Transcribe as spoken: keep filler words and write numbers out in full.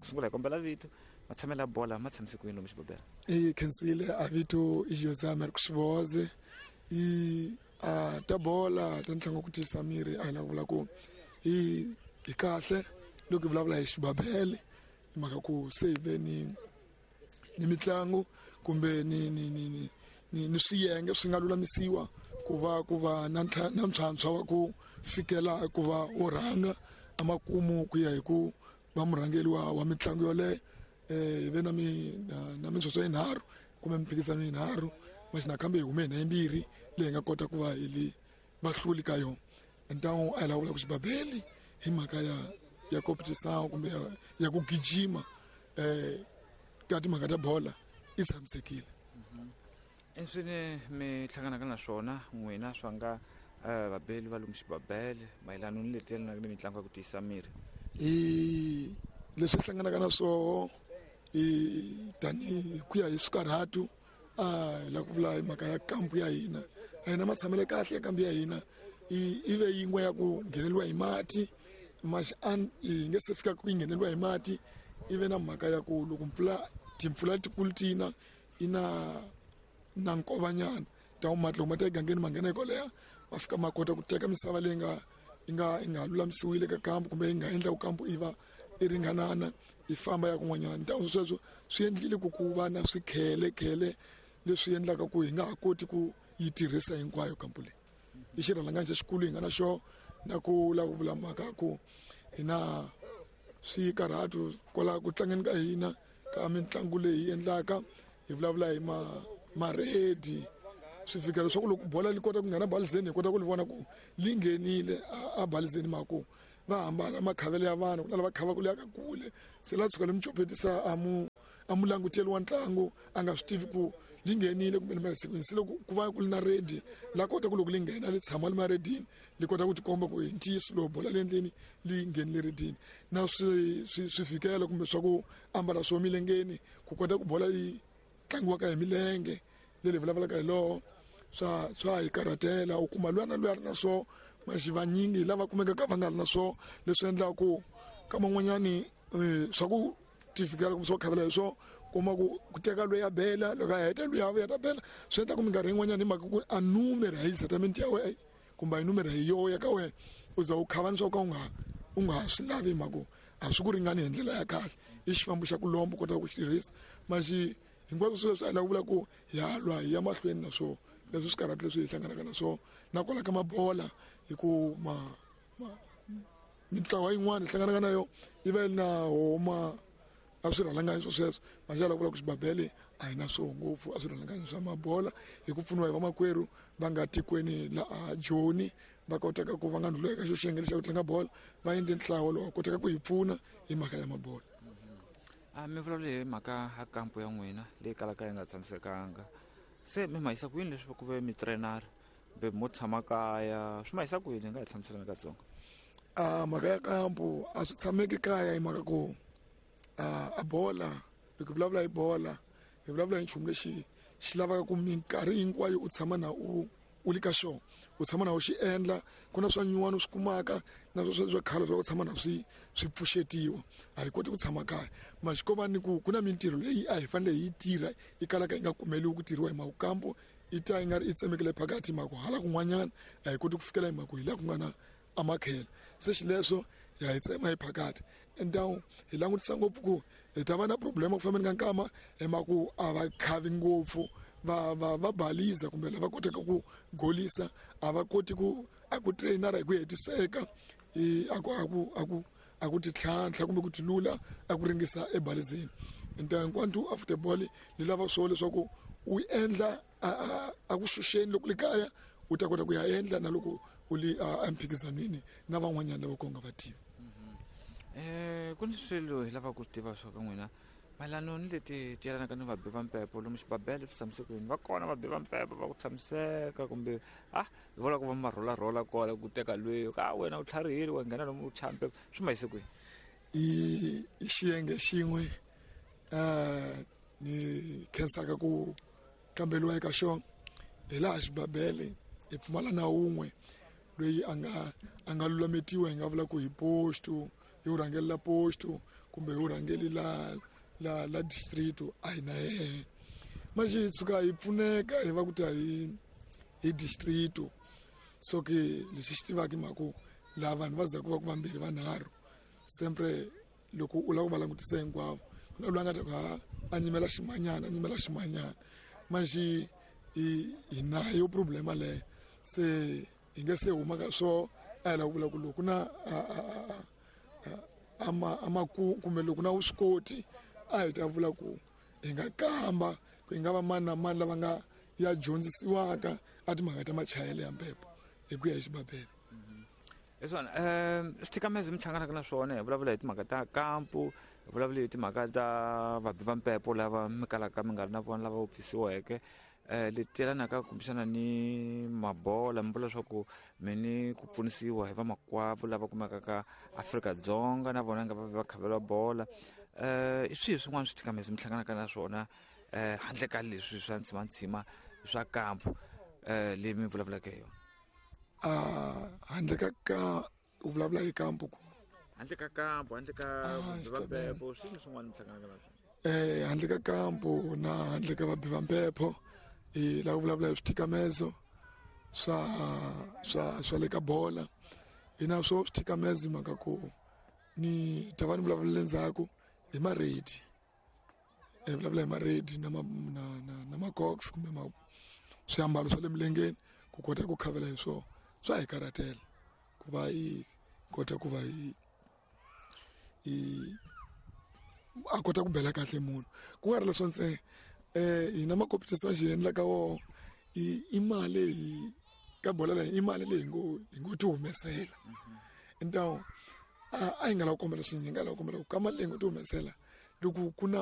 Ku sungula hi kombela vito, matshamelo ya bola ma tshamise ku yini lomu xibabele? I khensile a vito i Jose Marcos Xivoze. I a ta bola ta ntlangu ku tiyisa miri a hi lava vula ku hi hi kahle loko hi vulavula hi xibabele, hi mhaka ku se hi ve ni ni mitlangu kumbe ni ni ni ni ni ni swiyenge swi nga lulamisiwa ku va ku va na na ntlhantlho wa ku fikela ku va wo rhanga emakumu ku ya hi ku va murhangeri wa wa mitlangu yoleyo. Eh hi ve na mi na mintswontswo yinharhu kumbe mimphikizano yinharhu, maxi nakambe hi hume hina yimbirhi leyi nga kota ku va hi li vahluli ka yona. Ntangu a hi lava vula ku xibabele hi mhaka ya ya competition kumbe ya, ya ku gijima eh ka timhaka ta bola i tshamisekile. Enswini mi hlanganaka na swona n'wina swa nga vabeli va lomu xibabele mayelana ni leti yelanaka ni mitlangu ya ku tiyisa miri? I leswi hlanganaka na swoho i tanihi ku ya hi swikarhatu, a hi lava ku vula hi mhaka ya kampu ya hina. A hina matshamelo kahle ya kampu ya hina i i ve yin'we ya ku ngheneliwa hi mati, maxi yi nge se fika ku yi ngheneliwa hi mati. I ve na mhaka ya ku loko mpfula timpfula letikulu tina i na na nkovanyana ta mati loko mati ya egangeni ma nghena hi ma fika ma kota ku teka misava leyi nga yi nga yi nga lulamisiwile ka kampu kumbe yi nga endla ku kampu i va i ringanana i famba ya kun'wanyana. Ntangu sweswo swi endlile ku ku va na swikhelekhele leswi endlaka ku hi nga ha koti ku yi tirhisa hinkwayo kampu leyi. I xirhalanganyi xa xikulu hi nga na xona, na ku lava ku vula mhaka ku hi na swikarhatu kwala ku tlangeni ka hina ka mitlangu leyi hi endlaka, hi vulavula hi ma maredi swi fika leswaku loko bola li kota ku nghena balizeni hi kota ku li vona ku li nghenile a balizeni, mhaka va hambana makhavelo ya vanhu, ku na lava khavaka le ka kule se la tshuka li muchopetisa a mu a mu languteli wa ntlangu a nga swi tivi ku li nghenile kumbe li se loko ku va ku li na redi la kota ku loko li nghena li tshama li maredini li kota ku tikomba ku hi ntiyiso loko bola le endleni li nghenile redini. Na swi swi swifikelo kumbe swa ku ambala swo milengeni ku kota ku bola yi tlangiwaka hi milenge leyi vulavulaka hi loho swa swa hi karhatela. U kuma luya na luya ri na swo maxi vanyingi lava kumekaka va nga ri na swo, leswi endlaka ku ka man'wanyani swa ku tifikela kumbe swo khavela hi swo kuma ku ku teka loyi a bela loko a heta loyi a vuya ta bela, swi endla ku minkarhi yin'wanyana hi mhaka ku a numeri a yi settlement ya wena kumbe a yi numeri hi yoho ya ka wena u za u khava ni swa ka u nga u nga ha swi lavi hi mhaka ku a swi ku ringani hi ndlela ya kahle. I xifambo xa ku lomba u kota ku xi tirhisa maxi hinkwaswo swilo leswi a hi lava ku vula ku hi halwa hi ya mahlweni na swona leswi swikarhatu leswi hi hlanganaka na swona. Na kwala ka mabola hi ku ma mintlawa yin'wana hi hlanganaka na yona yi va yi ri na homa a swirhalanganyi swo sweswo, maxi ya lava ku vula ku xibabele a hi na swoho ngopfu a swirhalanganyi swa mabola hi ku pfuniwa hi vamakwerhu va nga tikweni la a Joni va kotaka ku va nga ndlhula eka xo xiyenge lexi xa ku tlanga bola, va endle ntlawa lowu kotaka ku hi pfuna hi mhaka ya mabola. A mi vulavula hi mhaka ya kampu ya n'wina leyi kalaka yi nga tshamisekanga, se mi ma yisa ku yini leswi ku ve mi trainer kumbe mo tshama kaya, swi ma yisa ku yini? Hi nga hi hlamuselana katsongo. A mhaka ya kampu a swi tshameki kaya hi mhaka ku a bola loko hi vulavula hi bola hi vulavula hi nchumu lexi xi lavaka ku minkarhi hinkwayo u tshama na u u li ka xona, u tshama na u xi endla. Ku na swa nyuwana u swi kumaka na swa swa khale swa ku tshama na swi swi pfuxetiwa, a hi koti ku tshama kaya. Maxi ko va ni ku ku na mintirho leyi a hi fanele hi yi tirha yi kalaka yi nga kumeliwi ku tirhiwa hi mhaka kampu yi ta yi nga ri yi tsemekile phakathi hi mhaka hala kun'wanyana a hi koti ku fikela hi mhaka hi laha ku nga na amakhele, se xileswo ya hi tsema hi phakathi. Entawu hi langutisa ngopfu ku hi ta va na problem ku fambeni ka nkama hi mhaka ku a va khavi ngopfu va va va baliza kumbe lava kotaka ku golisa a va koti ku a ku trainara hi ku hetiseka i a ku a ku a ku a ku titlhantlha kumbe ku tilula a ku ringisa ebalizeni. Nta hinkwantu after ball li lava swo leswaku u endla a a ku xuxeni loko li kaya u ta kota ku ya endla na loko u li emphikizanweni na van'wanyana lava ku nga va tivi. Eh ku ni swilo hi lava ku tiva swa ka n'wina mayelana ni leti ti yelanaka ni vabi va mpepo lomu xibabele swi tshamise ku yini? Va kona vabi va mpepo va ku tshamiseka kumbe ah hi vona ku va marholarhola kwala ku teka lweyo ka wena u tlharihile wa nghena lomu u chaya mpepo, swi ma yise kwini? I i xiyenge xin'we um ni khensaka ku kamberiwa eka xona hi laha xibabele hi pfumala na wun'we loyi a nga a nga lulametiwa hi nga vula ku hi posto hi wu rhangeli la posto kumbe hi wu rhangeli la la la district a hi na yehe manje hi tshuka hi pfuneka hi va ku ta hi hi district so ke lexi xi tivaka hi mhaka ku laha vanhu va zaku va ku vambirhi vanharhu sempre loko u lava ku va langutisa hinkwavo ku na loyi a nga ta ku ha a nyimela ximanyana a nyimela ximanyana manje hi hi nayo problema leyo se hi nga se huma ka swo a hi lava ku vula ku loko na a ma a maku kumbe loko na vuswikoti a hi ta vula ku hi nga kamba ku hi nga va mani na mani lava nga ya dyondzisiwaka a timhaka ta machayele ya mpepo hi ku ya hi xibabele. Hi swona um swithikamezi mi hlanganaka na swona hi vulavula hi timhaka ta kampu, hi vulavula hi timhaka ta vabi va mpepo lava mi kalaka mi nga ri na vona lava wupfisiweke um leti yelanaka kumbexana ni mabola mi vula leswaku mi ni ku pfunisiwa hi vamakwavo lava kumekaka Afrika-Dzonga na vona nga va va khavela bola um i swihi swin'wana swithikamezi mi hlanganaka na swona um handle ka leswi swa ntsimantsima swa kampu um leyi mi vulavulaka hi yona? A handle ka ka u vulavula hi kampu ku handle ka kampu handle ka Ah, vabi va xi mpepo swini swin'wana mi hlanganaka na swona? eh handle ka kampu na handle ka vabi va mpepo hi lava ku vulavula hi swithikamezo swa swa swa le ka bola hi na swo swithikamezo hi mhaka ku ni ta va ni vulavula le ndzhaku hi maredi hi vulavula hi maredi na ma na na na macox kumbe ma swiambalo swa le milengeni ku kota ku khavela hi swona swa hi karhatela ku va hi kota ku va hi hi a kota ku bela kahle munhu ku nga ri leswo ntsena eh hina ma-competition xi endlaka woho i i mali hi ka bola leyi i mali leyi hi ngo hi ngo ti humesela ntawo a a hi nga lava ku kombela swinyingi hi nga lava ku kombela ku ka mali leyi hi ngo ti humesela loko ku na